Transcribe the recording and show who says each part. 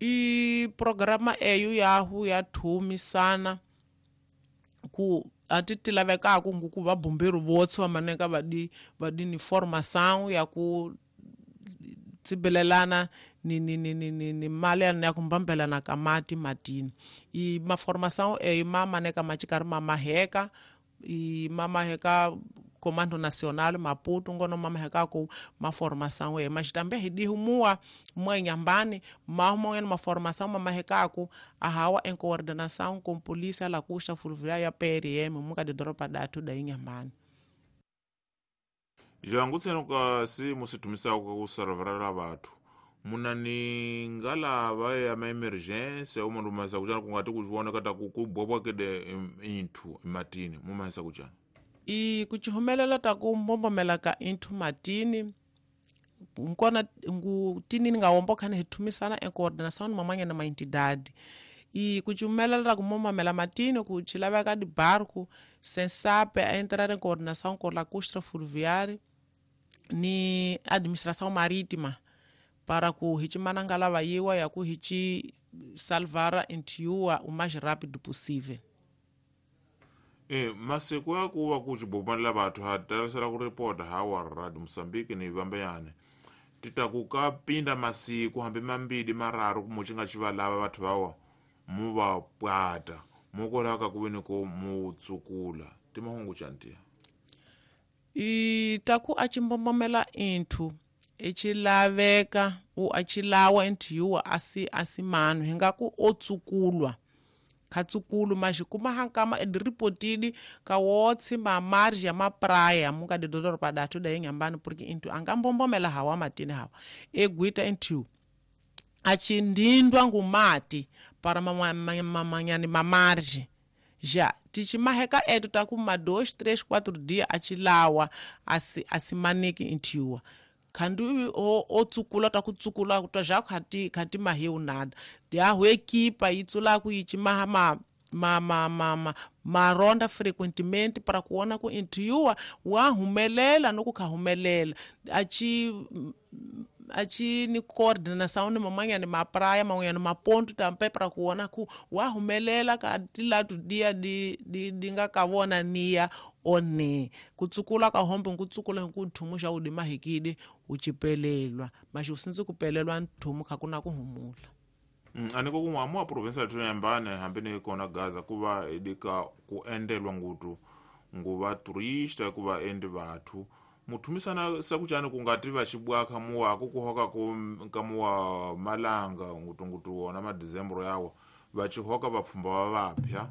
Speaker 1: I programa eyo yahu ya thumisana ku ati ti lavekaka ku va bombeiro votse va maneka va di ni formação ya ku tsibelelana ni mali ya ku mbambelana ka mati matini. I maformação eyo ma maneka ma cikari ma maheka, i ma maheka Comando Nacional Maputo ngono ma maheka ku maformação eyo, mas também hidihu mua mua Inhambane mahu ma formação ma mahekaku ahawa em coordenação com polícia lacustre fluvial ya PRM muka de doropa datu da Inhambane.
Speaker 2: Jangu ka si musitumisaka ku salvarela vathu munani ngalava ya ma-emergência umundu mahisa kuchana kungati kuchiwona kata kubwabwakede inthu ematini mumahisa kuchana?
Speaker 1: I kuchihumelela ta ku mbombomela ka inthu matini nkona ngu tini nga wombo khani hi thumisana em coordenação ni mamanyana ma entidade. E kuchihumelela ta ku mbombomela matini ku chilaveka de barco SENSAP a entrar em coordenação com a lacustre fluvial ni administração marítima para ku hichimana ngalava yiwa ya ku hichi salvar intiua o mais rápido possível.
Speaker 2: E masiku ya kuva kuchibomanela vathu ha talasela ku ripota hawa Radio Moçambique ni vambeyane titaku ka pinda masiku hambi mambili mararu muchi nga chivalava vathu vawa mu va pwata mukolaka ku veni ko mu tsukula timahungu chantiya.
Speaker 1: I taku a chimbombomela inthu ichilaveka u achilawa inthiwa asi asimano hingaku otsukulwa khatsukulu mas kuma hankama ediripotidi ka wotsi ma margem ya mapraia muka de doropa datu da Inhambane, porque intu angambombomela hawa matini hawa egwita inthu achindindwa ngumati para mamanyani mamargem já tichimaheka etu takuma 2 3 4 dias achilawa asi asimaniki inthiwa khandu o tsukula ta kutsukula ta já khati khati mahiu nada ya equipa itsula ku ichimaha ma ma ma ma ma maronda frequentemente para kuona ku inthiwa wa humelela no ku khahumelela achi achi ni coordenação ni mamanyani mapraia man'wanyani maponto tampe para kuona ku wa humelela ka tilatu dia di di di nga ka vona niya one kutsukula ka hombe nkutsukula ku nthumu xa udi mahikidi uchipelelwa mas usindzi kupelelwa nthumu kha kuna ku humula.
Speaker 2: Aniko kumwe amu a província ya Inhambane hambi ni kona Gaza ku va idika ku endelwa ngutu nguva turista ku va endi vathu muthumisana sakuchani kungati vachibwaka muwako kuhoka kamuwa malanga ngutu ngutu wona madizembro yawo vachihoka vapfumba va vapya.